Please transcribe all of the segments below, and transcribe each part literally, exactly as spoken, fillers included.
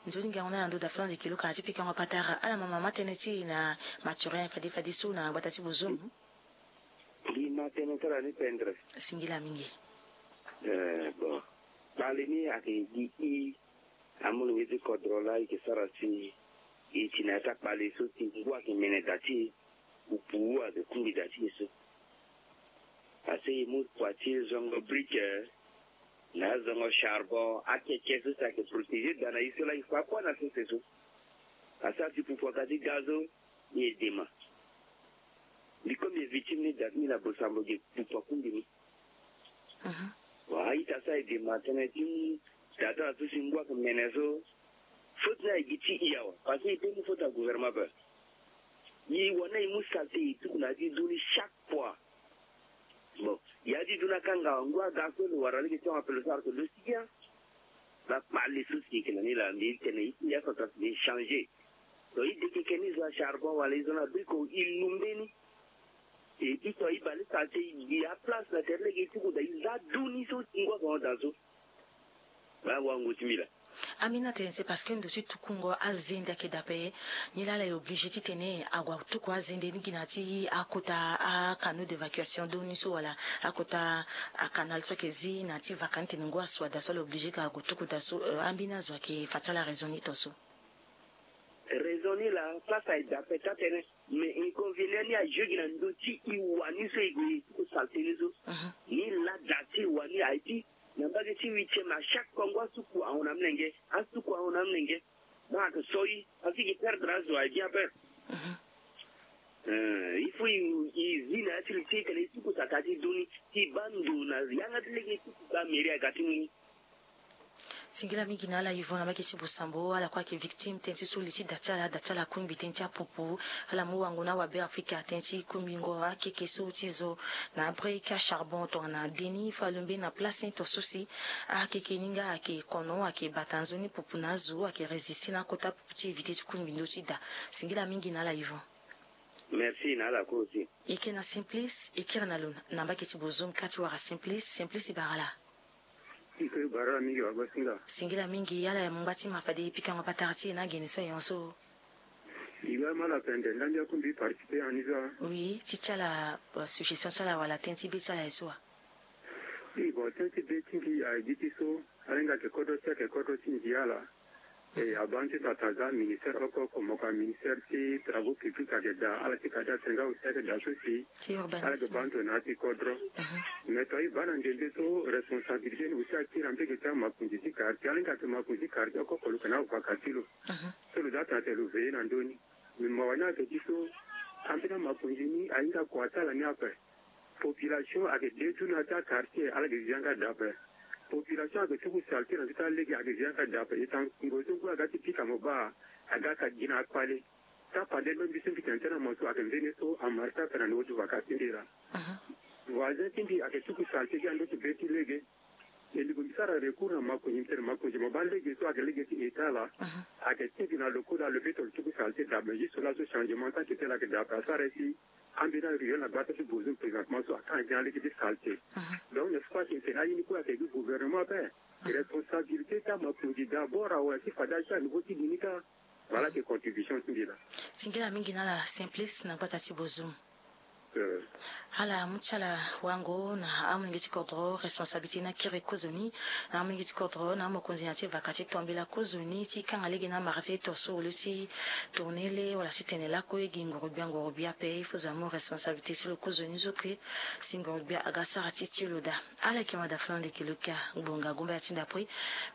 Nzoni ngangu na ndo da flan de kilo ka ti pikango patara ala mama ma tënë ti e na Mathurin fade fade so na gbata ti bozomu. Gi ma tënë ti ala ni pendre. Singila mingi. Eh, bon. Kpale ni ayeke gi i amolenge ti kodro laa e yeke sara si e ti na ya ti akpale so si ngu ayeke mene da ti e. Pupu ayeke kungbi da ti e so. Parce que e mu kua ti e zongo brique na azongo charbon akeke so si ayeke protéger da na e so laa e fa kua na sese so. Asara si pupu aga ti ga so. Mbi e dema. Mbi comme mbi e victime ni da ti mbi na bosambo ge pupu akungbi ni. Bon a-ita so aye dema tënë ti da ti ala so si ngu ayeke mene so. Faute ni aye gi ti e awe parce que e peut mu faute na gouvernement ape. E wani aye mu saleté e tuku na ya ti du ni chaque fois. Bon ya ti du ni akanga ngu aga so lo wara lege ti hon apele so ara so lo si bien. Ba kpale so si yeke na ni laa mbi tene e ti ya so ata si mbi changer. Donc e dekeke ni zo acharbon wala e zo na brique e lu mbeni. E ito e bale saleté e gi aplace na tere lege e tuku daa e za du ni so ti ngu azo na daa so. Ba wango ti mbi laa. Ambi na tene c'est parce que ndo ti tukungo azende ayeke daa ape. Nilaa ala e obligé titene ague atuku azende ni gi na ya ti akota acanaux d'évacuation do ni so wala akota acanal so ayeke zi na ya ti vaka ni tene ngu asu adaa so ala obligé ka ague tuku daa so. Ambi na zo ayeke fa ti ala raison ni to so. Raison ni laa place aye daa ape taa tene. Mais inconvénient ni ajoue gi na ndo ti e wa ni so e gue e tuku saleté ni so. Ni laa daa ti e wa ni aye ti na mbage ti huitième à chaque fois ngu asuku ahon na amolenge asuku ahon na amolenge. Donc ayeke so e parce que e perdre azo aye bien ape. Il faut e zi na ya ti li ti e tene e tuku saleté ti du ni ti baa ndo na yanga ti lege e tuku baa mairie aga ti mu ni. Singila mingi na ala Yvon na mbage ti bosambo ala kue ayeke victime tënë ti so li ti da ti ala da ti ala akungbi tënë ti apupu. Ala mu wango na awabe afrika tënë ti kungbingo akeke so ti zo na abrique acharbon tongana deni fa alumbe na place ni to so si akeke ni nga ayeke kono ayeke bata nzoni pupu na azo ayeke résister na akota pupu ti éviter ti kungbi ndö ti da. Singila mingi na ala Yvon. Merci na ala kue aussi. E ke na Simplice e kiri na lo na mbage ti bozomu ka ti wara Simplice. Simplice e bara ala. Iko e bara ala mingi wagosinga. Singila mingi ala ya mungba ti ma fade e pikango patara ti e na agene so ayon so. E ga ma ala pende nda mbi akungbi participer en izo. Oui ti ti ala suggestion ti ala wala tënë ti be ti ala ye so wa. Oui bon tënë ti be ti mbi aye gi ti so. Alenga ayeke kodro ti ayeke kodro ti ndia ala. E abaa nzoni ata za ministère oko oko moko aministère ti travaux publics ayeke daa ala ti kade atene nga aussi ayeke daa so si ala yeke baa ndo na ya ti kodro. Mais to aye baa na ndende so responsabilité ni aussi akiri na mbege ti amakonzi ti quartier alenga ayeke makonzi ti quartier oko oko lo yeke na avaka ti lo. So lo za atene atene lo veiller na ndö ni. Mais mawa ni ayeke ti so ambeni amakonzi ni ahinga kua ti ala ni ape. Population ayeke de ti na ya ti akartier ala yeke zi yanga daa ape. Population ayeke tuku saleté na ndö ti alege ayeke zi yanga daa ape e tanga kungo so ngu aga ti pika mo baa aga ka gi na akpale. Ti apande lo mbi so mbi tene tënë na mo so ayeke mbeni so amarché ape na niveau ti vaka ti mbi laa. Voisin ti mbi ayeke tuku saleté gi na ndö ti be ti lege. E lingbi mbi sara recours na makonzi mbi tene makonzi mo baa lege so ayeke lege ti état laa. Ayeke tingbi na lo kue laa lo be to lo tuku saleté daa ape mais juste laso changement ti akete laa ayeke daa ape asara ye si. Ambeni aruelle na gbata ti bozo présentement so aka ngia lege ti saleté. Donc n'est-ce pas tene aye ni kue ayeke gi gouvernement ape. Responsabilité ti amakonzi d'abord awe ti fade aye so a niveau ti li ni kâ. Voilà ke contribution ti mbi laa. Singila mingi na ala Simplice na gbata ti bozo. Ala mu ti ala wango na amolenge ti kodro responsabilité ni akiri kozoni. Na amolenge ti kodro na amokonzi na ya ti vaka ti tombela kozoni ti kanga lege na amara ti e to so lo ti tourner le wala ti tene lakue gi nguru-gbia nguru-gbia ape il faut zo amu responsabilité ti lo kozoni zo kue. Si nguru-gbia aga sara ti ti lo daa. Ala yeke ma da flan de kilo kia ngbonga gomba ya ti ndapui.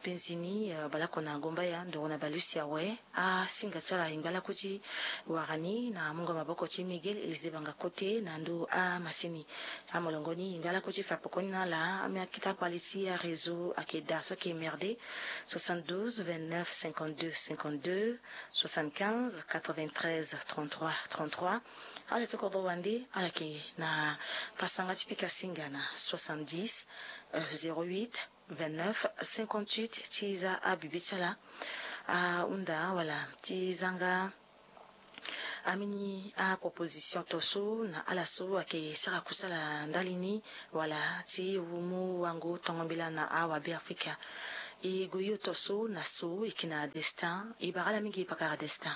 Penzi ni baleoko na gomba ya ndoro na balusi awe. Asinga ti ala e ngba lakue ti wara ni na mungo maboko ti Miguel Elisée Banga Kote na ndö amasini. Amolongo ni e ngba lakue ti fa pekoni na ala. Amia kita kpali ti aréseau ayeke daa so ayeke merde. Soixante-douze vingt-neuf cinquante-deux cinquante-deux, soixante-quinze quatre-vingt-treize trente-trois trente-trois. Ala ti kodro wande ala yeke na pasanga ti pika singa na soixante-dix zéro huit vingt-neuf cinquante-huit ti za abibi ti ala. Ahunda wala ti zanga amini aproposition to so na ala so ayeke sara kusala ndali ni wala ti mu wango tongo mbela na awabe afrika. E gue yo to so na so e yeke na Destin. E bara ala mingi pakara Destin.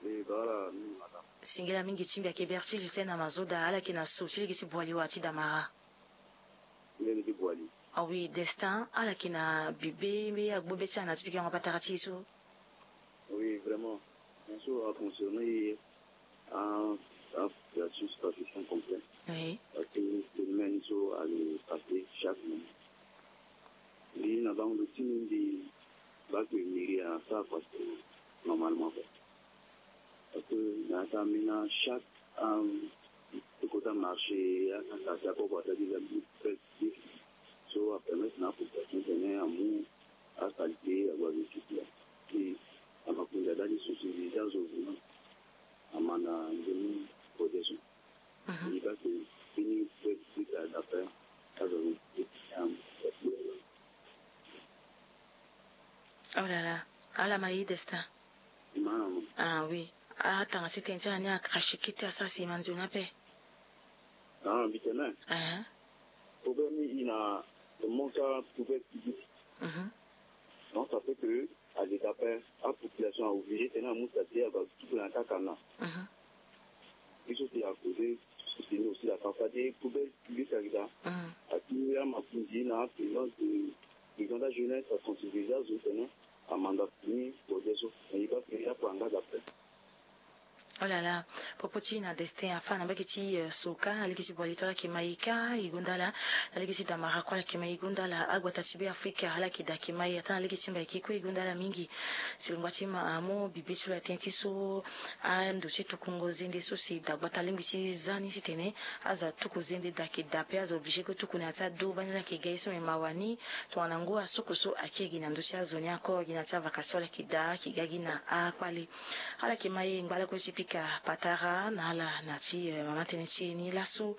E bara ala mingi madame. Singila mingi ti mbi ayeke Bertil Hussein Amazoda, ala yeke na so ti lege ti Boali wa ti Damara. Lege ti Boali. Ah oui, Destin, ala yeke na bibe mbi agbu be ti ala na ti pikango patara ti e so. Oui, vraiment. Bien sûr, a concerné a, a situation sud-africaine complet. Oui. Parce que phénomène so allait passer chaque moment. Mbi na bango lo ti mbi, mbi baa que mairie asara passer normalement quoi. Parce que na ata ambeni chaque, euh, ti kota marché, ata quartier akoko ata déjà bi. So apermettre na apopulation tene amu asalité ague na récipient. Ti amakonzi adali sensibilisé azo vraiment amanda nzoni protection. Mhm. Ni baa que fini pe ti ka d'après azo. Oh là là. Ala ma ye Destin. Ah oui. Atanga ti tene ti ala ni akaka siki ti asara sima nzoni ape. Ah, mbi tene. Ehe. Problème ni e na le manque à poubelle publique. Mhm. Donc ça fait que à l'état apopulation a obligé tene amu salité ague tuku na kaka na. Mhm. Biso si à côté, c'est aussi la partie des poubelles publiques à l'état. Mhm. Ati amakonzi na présence de, de grande jeunesse à sensibiliser azo tene amanda fini projet so. Mais il va payer pour engagement après. Oh là là, popo ti na Destin afa na mbage ti, euh, Soka, na lege ti Boali to ala yeke ma e kâ e gonda ala, na lege ti Damara kue ala yeke ma e gonda ala, agbata ti Be Afrika ala yeke daa ayeke ma e, ata na lege ti Mbaiki kue e gonda ala mingi. Si longba ti ma amu bibe ti lo na tënë ti so, ando ti tukungo zende so si dagbata alingbi ti za ni titene azo atuku zende daa ayeke daa ape, azo obligé kue tuku na ya ti ado bani ala yeke ga ye so me mawa ni. Tongana ngu asuku so ayeke gi na ndö ti azo ni ako gi na ya ti avaka so ala yeke daa ayeke ga gi na akpale. Ala yeke ma e ngba lakue ti pika patara na ala na ti, eh, mama tënë ti e ni laso.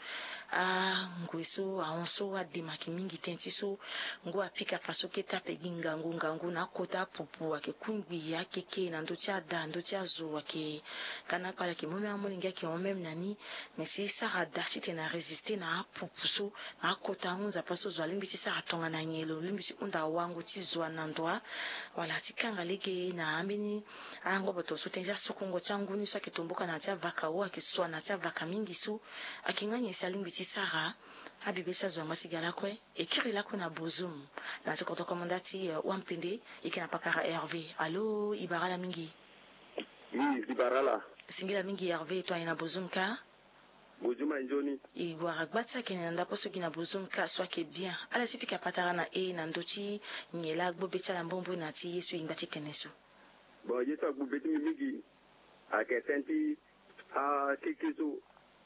Angue so ahon so adema ayeke mingi tënë ti so. Ngu apika fa so kete ape gi ngangu ngangu na akota apupu ayeke kungbi akeke na ndö ti ada ndö ti azo ayeke ga na akpale ayeke mu même amolenge ayeke hon même na ni. Mais si e sara daa titene arésister na apupu so na akota ahunza paso zo alingbi ti sara tongana nyen lo lingbi ti hunda wango ti zo ana ndo wa wala ti kanga lege na ambeni angoboto so tënë ti asukungo ti angu ni so ayeke tomboka na ya ti avaka o ayeke sua na ya ti avaka mingi so. Ayeke nga nyen si alingbi ti sara? Abibe ti azo angba ti ga lakue. E kiri lakue na Bozoum na ti kodro komanda ti, eh, Wampende. E yeke na pakara Hervé. Alo, e bara ala mingi. Oui, e bara ala. Singila mingi Hervé, tongana e na Bozoum kâ? Bozoum aye nzoni. E wara gba ti akene na ndapo so gi na Bozoum kâ so ayeke bien. Ala si pika patara na e na ndö ti nyen laa agbu be ti ala mbombo na ti ye so e ngba ti tene so. Bon, ye so agbu be ti mbi mingi ayeke tënë ti akeke so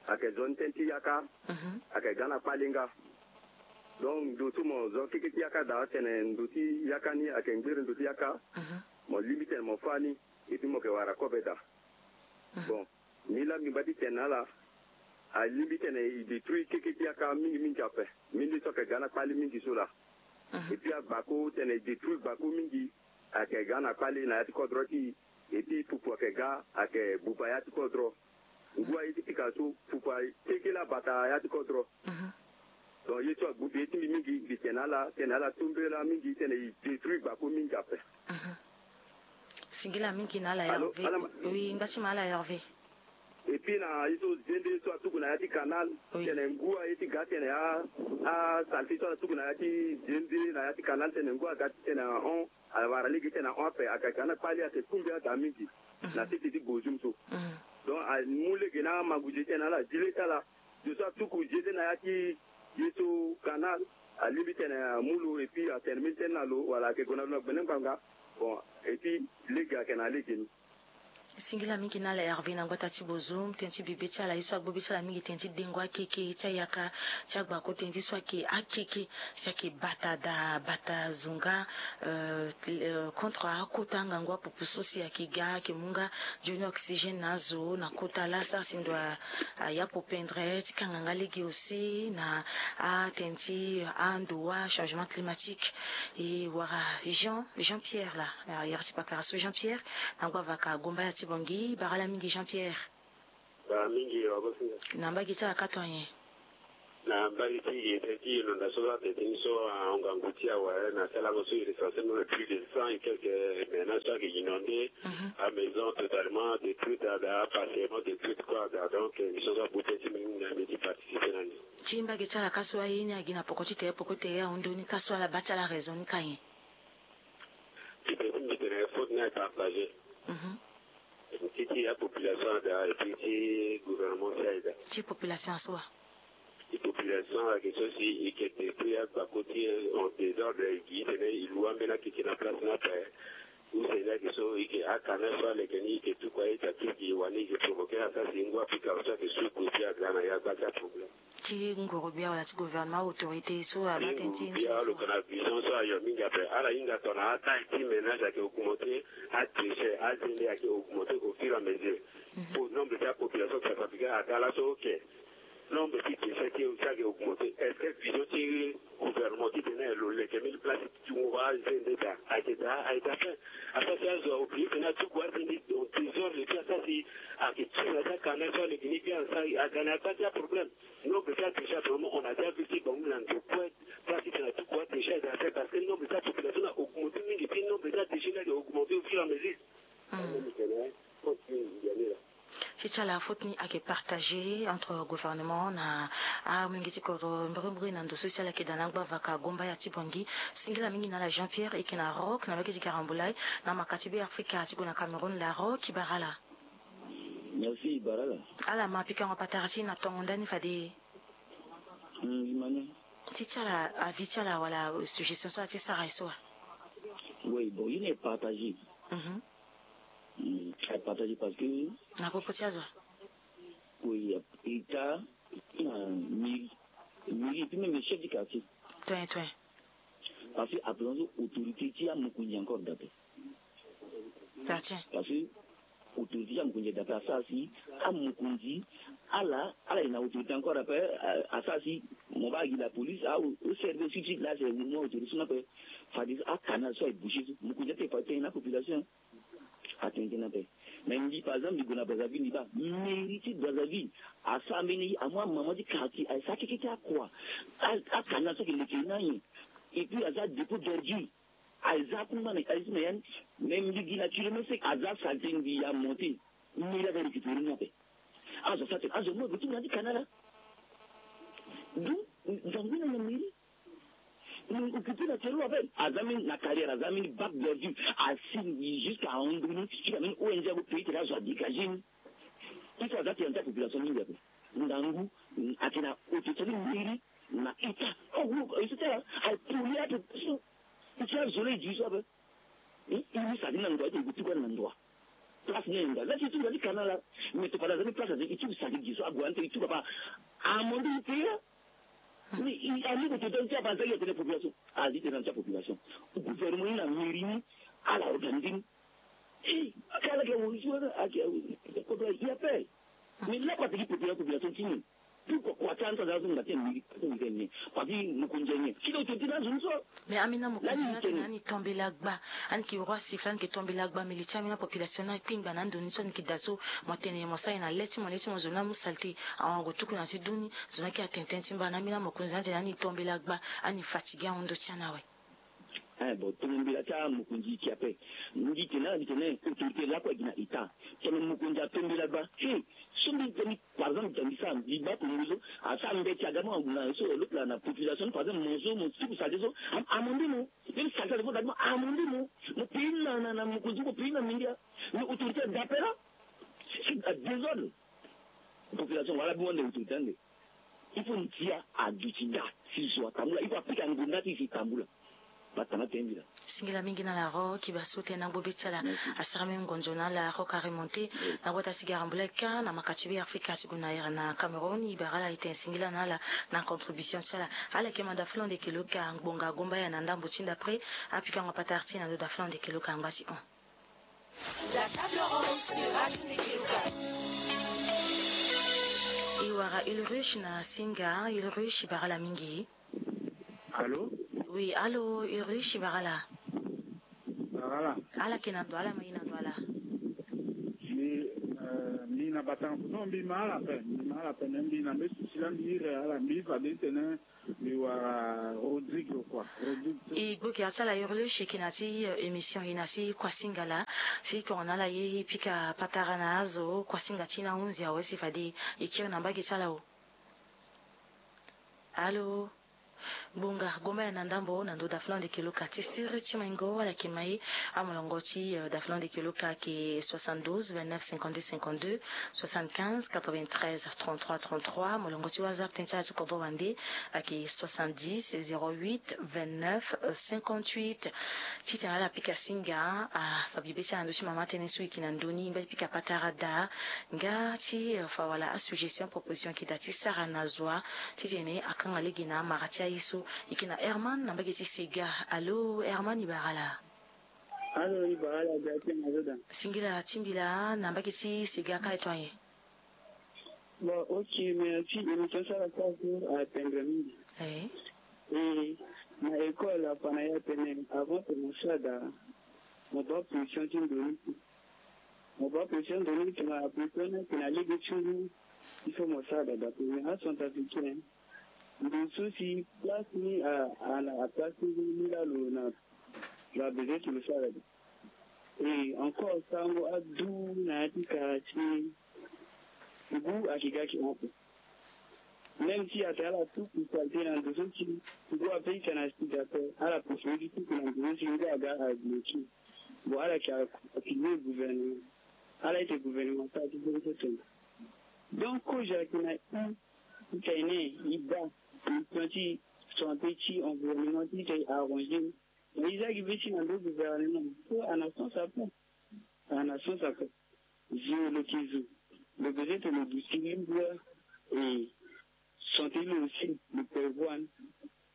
ayeke zo ni tënë ti yaka. Mhm. Ayeke ga na kpale nga. Donc ndo so mo zo keke ti yaka daa tene ndo ti yaka ni ayeke ngbere ndo ti yaka. Mhm. Mo lingbi tene mo fâ ni. Et puis mo yeke wara kobe daa. Mhm. Bon, ni laa mbi ngba ti tene na ala, alingbi tene e détruire keke ti yaka mingi mingi ape. Mingi so ayeke ga na kpale mingi so laa. Mhm. Et puis agbako tene e détruire gbako mingi ayeke ga na kpale na ya ti kodro ti e. Et puis pupu ayeke ga ayeke buba ya ti kodro. Ngu aye ti pika so pupu akeke laa bata ya ti kodro. Mhm. Donc ye so agbu be ti mbi mingi, mbi tene na ala, tene na ala tombela mingi, tene e détruire gbako mingi ape. Mhm. Singila mingi na ala Hervé. Oui, ngba ti ma ala Hervé. Et puis na ye so zende so atuku na ya ti canal, oui, tene ngu aye ti ga tene a, asaleté so ala tuku na ya ti zende na ya ti canal tene ngu aga ti tene ahon. Awara lege ti tene ahon ape, ayeke ga na kpale ayeke kungbi ada mingi. Mhm. Na sese ti Bozoum so. Mhm. Donc amu lege na amangu-zie ti tene na ala, zi le ti ala, zo so atuku zi ete na ya ti ye so canal, alingbi tene amu lo et puis atene mbeni tënë na lo wala ayeke gue na lo na gbene ngbanga. Bon, et puis lege ayeke na lege ni. Singila mingi na ala Hervé na gbata ti Bozoum, tënë ti bibe ti ala ye so agbu be ti ala mingi tënë ti dengo akeke ti ayaka ti agbako tënë ti so ayeke akeke. Si ayeke bata daa bata zonga, euh, euh, contre akota ngangu apupu so si ayeke ga ayeke mu nga nzoni oxygène na azo na kota laa sara si ndo a, a ya popendre ti kanga nga lege use na atënë ti ando wa changement climatique. E wara Jean, Jean Pierre laa, a yere ti pakara so Jean Pierre na ngu avaka Gomba ya ti Bangui, bara ala mingi Jean Pierre. Bara mingi, wa bo si. Na mbage ti ala kâ tongana nyen? Na mbali ti e tënë ti inondation so atene ti ni so ahon ngangu ti awe na salango so e recensé même plus de cent et quelques ménages so ayeke inondé. Amaison totalement détruite ada, appartement détruite kue ada. Donc émission so abu tënë ti mbi mingi na mbi ti participer na ni. Ti mbage ti ala ka so aye ni agi na poko ti tere poko tere ahon ndoni ka so ala baa ti ala raison ni ka nyen? Ti tene ti mbi tene faute ni aye partagé. Ti ti apopulation ada et puis ti gouvernement si aye daa. Ti population aso wa? Ti population ayeke so si e yeke détruire agbako ti e en désordre, e gi titene e lu ambeni akeke na place ni ape. Use ni ayeke so e yeke akanal so aleke ni e yeke tuku aita ti e gi wani e yeke provoquer asara si ngu apika so ayeke suku e puis aga na ya gba ti aproblème. Ti nguru bia wala ti gouvernement autorité so abaa tënë ti e ti e so wa? Lo yeke na vision so ayo mingi ape. Ala hinga tongana ataille ti ménage ayeke augmenter, adéchet azende ayeke augmenter au fur et à mesure. Po nombre ti apopulation ayeke s'affaiblir aga laso, ok. Nombre ti déchet ti e aussi ayeke augmenter. Est-ce que vision ti gouvernement titene lo leke mbeni place ti tungo azende daa? Ayeke daa, ayeke daa fin. Asara si azo a oublier titene atuku azende en désordre et puis asara si ayeke tiri na ti akanal so aleke ni bien asara aga na ya gba ti aproblème. Nombre ti adéchet actuellement on a déjà vu ti bango na ndo kue. Place ti tene atuku adéchet daa fin parce que nombre ti apopulation ni a augmenter mingi puis nombre ti adéchet ni ayeke augmenter au fur et à mesure. Ti ti ala faute ni ayeke partagé entre gouvernement na amolenge ti kodro mbirimbiri na ndo so si ala yeke daa na agba vaka Gombaya ti Bangui. Singila mingi na ala Jean Pierre e yeke na Rock na mbage ti Garambulai na maka ti Be Afrika ti gue na Cameroun. La Rock e bara ala. Merci e bara ala. Ala ma pikango patara ti e na tongo ndani fade. Ti ti ala avis ti ala wala suggestion so ala ti sara e so wa? Oui, bon, ye ni e partagé. Mhm. Mm, a partagé parce que na popo ti azo. Oui, état na mairie, mairie et puis même chef du quartier. Toin toin. Parce que apelons autorité ti amokonzi encore d'après. Parce que autorité ti amokonzi d'après asara si amokonzi ala ala ye na autorité encore d'après. Asara si mo baa gi la police a o servir suite là c'est mo autorité so na pe. Fadi akanal so aye boucher so mokonzi ate fa tene na population. Atene tënë ape. Mais mbi par exemple mbi gue na Brazzaville mbi baa mairie ti Brazzaville asara mbeni ye amu amama ti quartier aye sara keke ti akua. Akanal so ayeke leke ni anyen. Et puis aza dépôt d'ordure aye za akungba na italie ti na ya ni. Mais mbi gi na kilomètre sec aza saleté mbi ya monté. Mairie aza récupéré ni ape. Azo asara tene azo mo gue ti mu na ya ti kanal laa. Donc nzangu ni na mairie. Mo occupé na tere lo ape aza mbeni na carrière aza mbeni bac d'ordure. Asi jusqu'à ahon ndoni jusqu'à mbeni ong ague pays tene azo adégagé ni. Il faut aza tene na ti apopulation mingi ape. Ndangu ayeke na autorité ti mairie na état. Oh et cetera. Aye polluer apopulation. E ti azo lo e gi so ape. E mu saki ni na ndo aye tene e gue tuku ani na ndo wa? Place ni aye ndo wa la ti e tuku na ti kanal laa. Mais to fade aza mbeni place aza e tuku saki gi so ague ani tene e tuku apa? Amande e pays laa. Mais ami ko tene ti apa aza gi atene population azi tene na ti apopulation. Gouvernement ni na mairie ni ala organiser ni. Ake ala ke wori so ake wori kodo ya pe. Mais la ko ateki population population ti ni. Pourquoi ko ata anto aza so ngba ti mairie ko ngba ni. Parce que mokonzi ni kilo tene ti na zo ni so. Mais amina mokonzi ni atene ani tombela gba. Ani ke roi siffle ani ke tombela gba mais li ti amina population ni akpingba na ndo ni so ani ke da so. Mo tene mo sara ye na le ti mo le ti mo zo ni amu saleté. Awango tuku na ti duni. Zo ni ake atene tënë ti mba na ambeni amokonzi ni atene ani tombela gba. Ani fatigué ahon ndo ti ani awe. Eh bon tombela ti amokonzi ti ape. Mbi tene na mbi tene autorité lakue gi na état. Tene mokonzi atombela gba. He so mbi tene par exemple tene mbi sara mbi baa tongo so asara mbeti aga mo na so eloko laa na population par exemple mo so mo tuku saleté so. Amande mo. Même saleté so dadi mo amande mo. Mo pays na na mokonzi mo pays na mindia. Mais autorité adapela. Si adésordre population wala bi wande autorité ande. Il faut ndia aduti nda si zo atambula il faut apika ngonda ti si tambula. Batanga tembila. Singila mingi na la rock iba so tena gbo be ti ala. Asara même ngonzo na la rock aremonte na wata ti garambula eka na maka ti be afrika ti gue na ere na cameroun iba rala ete singila na ala. Na contribution ti ala ala eke manda flonde keloka ngbonga gomba ya na ndambo ti nda après. Apika ngo patara ti na ndo da flonde keloka ngba ti hon. La table ronde sur Radio Nekeluka. E wara Ulrich na Singa. Ulrich e bara ala mingi. Allo. Oui allo, Ulrich e bara ala. Bara ala. Ala yeke na ndo ala ma e na ndo ala. Mbi, eh, mbi na batanga poto mbi ma ala ape, mbi ma ala ape, me mbi na mbi susi la mbi iri ala mbi fade titene mbi wara Rodrigue quoi. Rodrigue. E gbu gi ati ala iri lo e seke na ti, eh, émission e na ti kuasinga laa. Si tongana ala ye e pika patara na azo kuasinga ti e na hunzi awe si fade e kiri na mbage ti ala o. Alo. Bonga, gomba ya na ndambo na ndo dafulande keloka ti siri ti maingo ala yeke mai. Amolongo ti, eh, dafulande keloka ayeke soixante-douze, vingt-neuf, cinquante-deux, cinquante-deux, soixante-quinze, quatre-vingt-treize, trente-trois, trente-trois. Molongo ti WhatsApp tënë ti ala ti kodro wande ayeke soixante-dix, zéro huit, vingt-neuf, cinquante-huit. Titene ala pika singa, ah, fa bibe ti ala na ndö ti mama tënë so e yeke na ndö ni, ngba ti pika patara daa. Nga ti, eh, fa wala asuggestion, proposition ayeke daa ti sara na zo wa titene akanga lege na amara ti aye so. E yeke na Herman na mbage ti Sega. Alo Herman, e bara ala. Alo, e bara ala, Beatrice na Zoda. Singila ti mbi laa na mbage ti Sega ka e to aye. Bon, ok, merci. Émission ti ala so atendre mingi. Eh. E na école afa na e atene avant tene mo sara daa, mo baa position ti ndo ni. Mo baa position ndo ni, tongana position ni ayeke na lege ti ngu, il faut mo sara daa. Parce que acentrafricain, ndo so si place ni a, a, a place ni laa lo na, lo a besoin ti lo sara daa. Et encore, sango adu na ya ti quartier, ngu ayeke ga ayeke hon ape. Même si atene ala tuku saleté na ndo so si ngu ape, e tene na sud ape, ala préféré ti tuku na ndo so si ngu aga a bloqué. Bon, ala yeke accusé gouvernement. Ala ete gouvernement asara ti so so tene. Donc, kozo ayeke na i, titene e baa position ti santé ti environnement ti tene e arrangé. Mais e za gi be ti na ndo gouvernement so a na sens ape. A na sens ape. Zo lo yeke zo, lo besoin tene lo duti libre et santé lo aussi lo prévoir ni.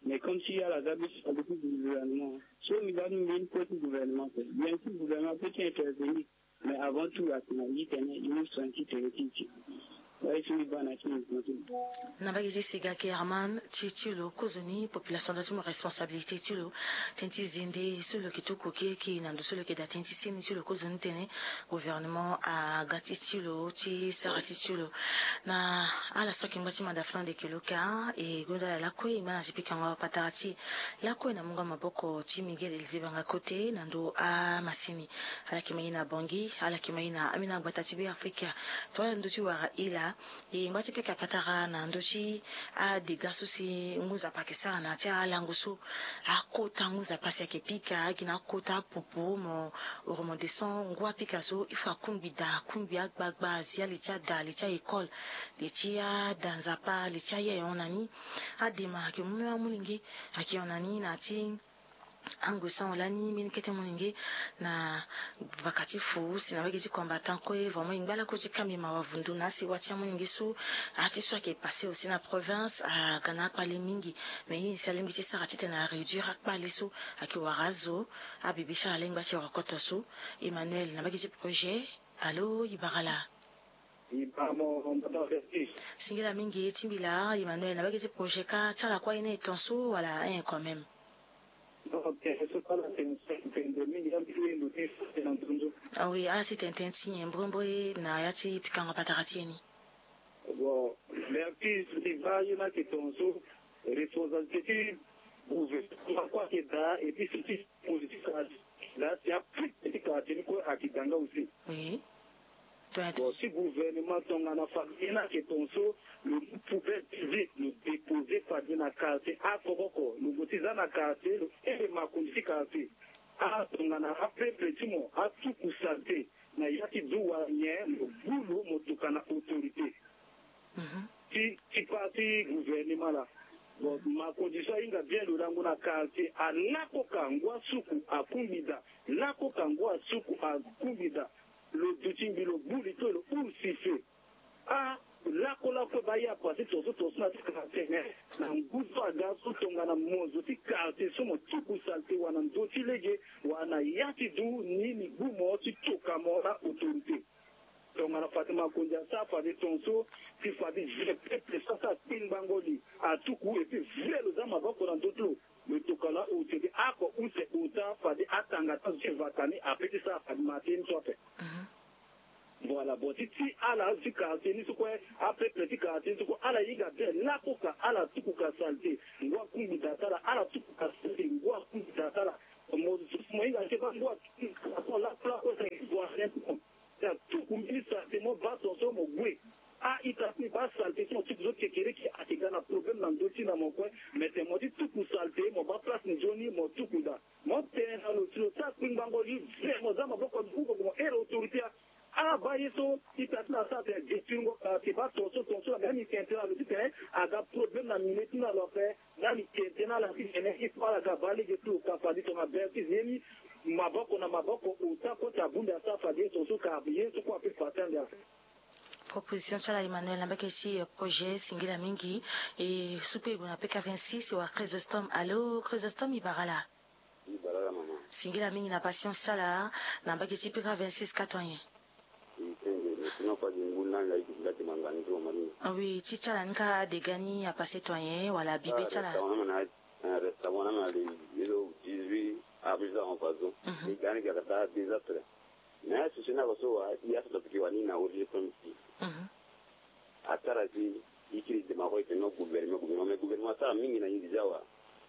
Mais comme si ala za be ti na ndo ti gouvernement, so mbi baa mbi mbeni kue ti gouvernement ape. Bien sûr gouvernement peut ti intervenir. Mais avant tout atene e tene e mu soin ti tere ti e. Wala e so mbi baa na ti mbi santé. Na mbage ti Sega, Herman, ti, ti lo kozoni population daa ti mu responsabilité ti lo. Tënë ti zende so lo yeke tuku keke na ndo so lo yeke daa tënë ti seni ti lo kozoni tene gouvernement aga ti ti lo ti sara ti ti lo. Na ala so ayeke ngba ti manda Flandre yeke lo ka, e gonda ala lakue e ngba na ti pikango patara ti e. Lakue na mungo maboko ti Miguel Elizé Banga Kote na ndo amasini. Ala yeke ma e na Bangui, ala yeke ma e na ambeni agbata ti Beafrika. Tongana ndö ti wara e laa, e ngba ti pika patara na ndö ti adega so si ngu nzapa ayeke sara na ya ti alango so. Akota ngu nzapa si ayeke pika, gi na akota apupu mo remonter son ngu apika so, il faut akungbi daa, akungbi agbagba, azia li ti ada, li ti a-école, li ti ada nzapa, li ti aye ayeke hon na ni. Adema ayeke mu amolenge, ayeke hon na ni na ya ti angu so ahon lani mbeni kete molenge na vaka ti fu si na mbage ti combattant kue. Vraiment e ngba lakue ti kambi mawa vundu na asewa ti amolenge so. Aye ti so ayeke passé aussi na province aga na akpale mingi. Mais ye ni si alingbi ti sara titene aréduire akpale so ayeke wara azo. Abibi so ala lingbi ti rokoto so. Emmanuel na mbage ti projet. Alo, e bara ala. E bara mo, mo ta vertige. Singila mingi ti mbi laa Emmanuel, na mbage ti projet ka ti ala kue aye ni e ton so wala un quand même? Donc tene so ala tene so e tene mingi ya mbi ye ndo ti so tene na nzunzu. Ah oui, ala ti tene tënë ti nyen mbrembre na ya ti pikango patara ti e ni? Bon, vertige, mbi baa ye ni ayeke ton so responsabilité ti gouvernement kue ayeke daa et puis surtout politique daa si aprique ti quartier ni kue ayeke daa nga aussi. Oui. Bon, si gouvernement tongana fade ye ni ayeke ton so lo mu poubelle publique lo déposer fade na quartier oko oko, lo gue ti za na quartier lo iri makonzi ti quartier. Ah, tongana apeuple ti mo atuku saleté na ya ti du wala nyen, lo gbu lo mo tokua na autorité ti, ti part ti gouvernement laa. Bon, makonzi so ahinga bien lo lango na quartier, alako ka ngu asuku akungbi daa, lako ka ngu asuku akungbi daa. Lo duti mbi lo gbu li to lo huru sifflet. Ah, lako lako kue baa ye apase tonso tonso na ti quartier, mais na ngu so aga so tongana mo zo ti quartier so mo tuku saleté wala na ndö ti lege wala na ya ti du ni, ni gbu mo ti toka mo na autorité. Tongana fade makonzi asara fade tonso, si fade vieux peuple so asara kpingbango li atuku et puis vrai lo za maboko na ndö ti lo, lo toka lo autorité oko use ota fade atanga ti azo ti vata ni ape ti sara fade mate ni so ape. Mhm. Voilà, bon, ti ti ala ti quartier ni so kue, apeuple ti quartier ni so kue, ala hinga bien lakue ka, ala tuku ka saleté. Ngu akungbi da ti ala, ala tuku ka saleté, ngu akungbi da ti ala. Mo susu mo hinga ti baa ngu atuku ka so lakue lakue, sa ngu atuku. Sa tuku mbeni saleté, mo baa tongaso mo gue. A-ita ti mo baa saleté ti mo tuku so kekereke, ayeke ga na problème na ndö ti na mo kue. Mais tene mo ti tuku saleté, mo baa place nzoni, mo tuku da. Mo tene na lo si lo sara kpingbango li ve, mo za maboko na mo, mo iri autorité. Abaa ye so ita ti na sara tene détruire ngo ka, si baa tongaso, tongaso na ga ni tene tene na lo titene aga problème na milieu ti na lo ape. Ndani tene tene na ala ti tene il faut ala ga baa lege ti lo ka fade tongana bêtise ye ni. Maboko na maboko, ota kue ti abunda asara fade ye tongaso ka ye so kue ape fade ande ape. Proposition ti ala Emmanuel na mbage ti, eh, projet singila mingi. E supe e gue na P K vingt-six, e wara Chrysostome. Allô, Chrysostome, e bara ala? E bara ala, mama. Singila mingi na patience ti ala na mbage ti P K vingt-six, ka to nyen? E senge, mais sinon kua gi ngu langa e gi nda ti manga ni ti mama ni. Ah oui, ti ti ala ni ka dega ni apassé to nyen wala bibe ti ala? Restaurant na, eh, restaurant na le, le dix-huit avril en façon. Mhm. E ga ni ga kata désastre. Mais asosié na ko so wa, i aso to piki wani na origine primitive. Mhm. Atara si i kiri dema ko ite no gouvernement, gouvernement, mais gouvernement asara mingi na ni déjà wa.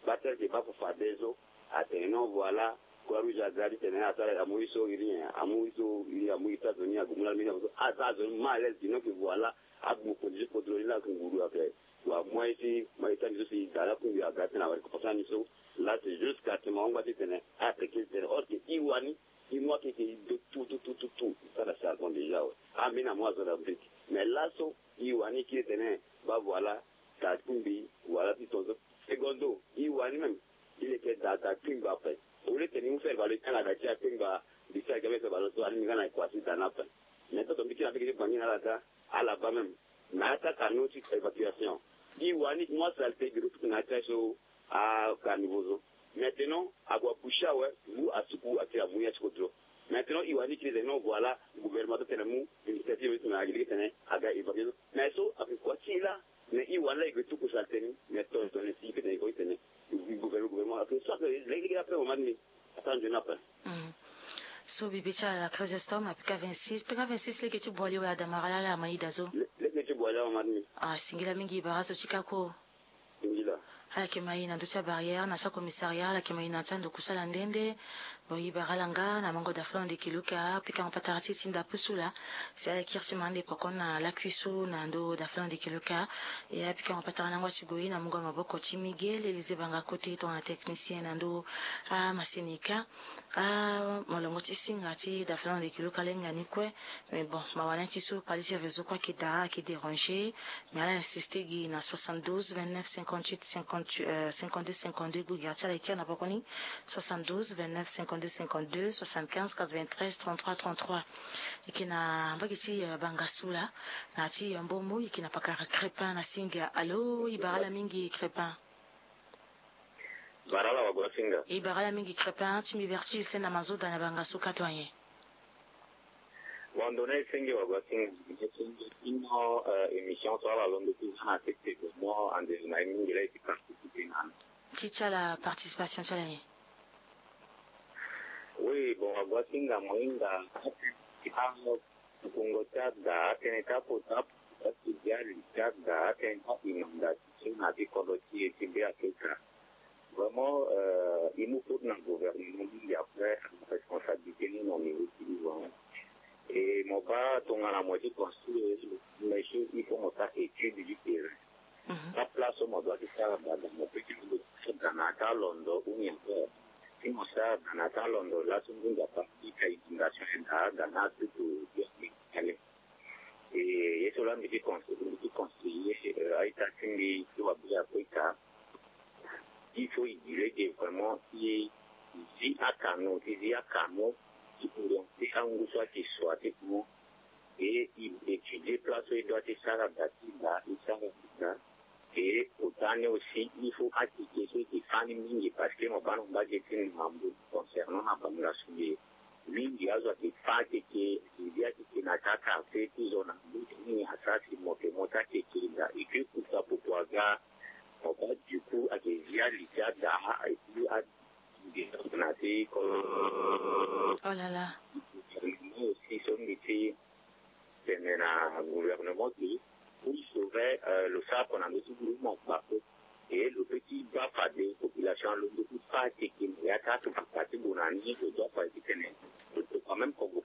Ba tere ke ba fo fade so, atene non, voilà, Croix Rouge aga ti tene asara amu i so iri nyen, amu i so iri, amu États-Unis agu mu la mingi amu so, asara zo ni malaise, sinon que voilà, agu mu condition kodro ni la nguru ape. Wa moyen si, moyen si amiso si da la kungbi aga ti tene awa récompense amiso. Là c'est juste que atene ma wangba ti tene, atene ke ti tene, or que i wani, i mu akeke i do tout, tout, tout, tout, tout. I sara charbon déjà, ouais. Ambeni amu azo na brique. Mais laso, i wani kiri tene, ba voilà, da kungbi, voilà, ti tongaso. Secondo, i wani même, i leke da, da kungba ape. Au lieu tene i mu faire valoir tene da ti akungba, di ti aga me faire valoir so, ani mi nga na équation da na ape. Mais toto mbi kiri na mbage ti Bangui na ala da, ala baa même. Na attaque à non sur évacuation. I wani moi saleté giro tout na attaque so, a carnivore so. Maintenant ague abouché awe, ngu asuku atiri amu ya ti kodro. Maintenant i wani kiri tene non, voilà, gouvernement so tene mu initiative so na agi lege tene aga évacuer so. Mais so ape kua ti la, mais i wani la i gue tuku saleté ni, mais ton ton si i pe tene i ko i tene. Gouvernement, gouvernement ape so ape lege lege ape mama ni. Ata nzoni ape. Mm. So bibe ti ala Chrysostome na P K vingt-six, P K vingt-six lege ti Boali wala Damara laa la Maïda so? Le-, lege ti Boali la mama ni. Ah, singila mingi, bara so ti ka ko. Singila. Ala yeke ma e na ndö ti abarrière na ti acommissariat, ala yeke ma e na ti ando kusala nde nde. Bon, e bara ala nga na mango da flon de kiluka, pikango patara ti e ti ndapu so laa. Si ala kiri ti ma ande poko na lakui so na ndo da flon de kiluka. E apikango patara na ngoi ti gue na mungo maboko ti Miguel Élisée Banga Kote tongana technicien na ndo. Ah, Masenika. Ah, molongo ti singa ti da flon de kiluka lenga ni kue. Mais bon, mawa na ti so pali ti réseau kue ayeke da, ayeke déranger. Mais ala insisté gi na soixante-douze vingt-neuf cinquante-huit cinquante, euh, cinquante-deux cinquante-deux, gue gi ti ala e kiri na poko ni. Soixante-douze vingt-neuf cinquante-deux cinquante-deux, soixante-quinze quatre-vingt-treize trente-trois trente-trois. E yeke na mbage ti, euh, Bangasou laa, na ti, euh, Mbomo, e yeke na pakara Crépin na Singa. Allô, e bara ala mingi Crépin. Bara ala wago asinga. E bara ala mingi Crépin, ti mbi Berti Hussein na Mazoda na Bangasou, ka to nyen? Bon, ndo na e senge wago asinga. Ino, euh, émission so ala londo ti za na sese mo ande na e mingi la e ti participer na. Ti ti ala participation ti ala nyen? Oui, bon, wago asinga mo hinga ti a Tukungo ti ada, atënë ti akota, ati dia li ti ada, atënë ti inondation na ti kodro ti e ti Be Afrika. Vraiment, euh, i mu faute na gouvernement mingi, après responsabilité ni na niveau ti i vraiment. Et mo baa tongana mo ti construire, mais il faut mo sara étude du terrain. Mhm. Ka place so mo doit ti sara gbada, mo peut ti sara gbada na ata londo ou ni encore. Si mo sara gbada na ata londo, laso ngu nzapa ti ka inondation e daa gbada na tutu ti ale. E ye so laa mbi ti conseiller, mbi ti conseiller, euh, a-ita ti mbi ti wa Be Afrika. Il faut i di lege vraiment i zi acanaux, ti zi acanaux ti orienter angu so ayeke sua ti mo. Et i étudier place so i doit ti sara da ti da, i sara da. Et ota ni aussi, il faut akeke so i ke fâ ni mingi, parce que mo baa na mbage ti Mambu concernant na Bangasou ye. Mingi azo ayeke fâ akeke, i zi akeke na ka quartier ti zo na mbutu mingi asara si mo yeke mo ti akeke da. Et puis kusa popo aga, mo baa du coup ayeke zi ali ti ada, et puis a, na ti ko. Oh là là. Aussi so mbi ti gouvernement ke pour sauver lo sara kua na ndö ti gouvernement kpako. Et lo peut ti baa fade population alondo ti fâ teke na ya ti aturuka ti gue na ni lo doit fade titene lo tokua même convocation.